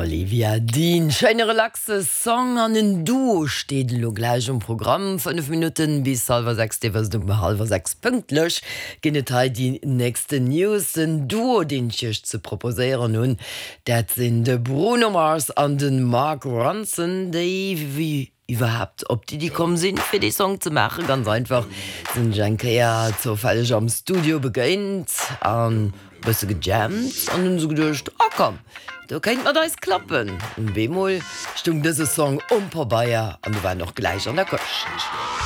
Olivia Dean, schéine relaxe Song an en Duo steet elo gläich um Programm. 5 Minutten bis hallwer 6, Dir wësst um hallwer 6 pënktlech ginn et hei déi nächsten News. Den Duo deen ech iech ze proposéieren hunn, dat sinn de Bruno Mars an de Mark Ronson, déi wéi iwwerhaapt op d'Iddi komm sinn, fir dee Song ze maachen? Ganz einfach, sinn sech eng Kéier zoufälleg am Studio begéint an e bësse gejammt an hunn se geduecht, oh komm, do kéint mat eis klappen. An bemol stung dëse Song um Pabeier an du war en och gläich an der Këscht.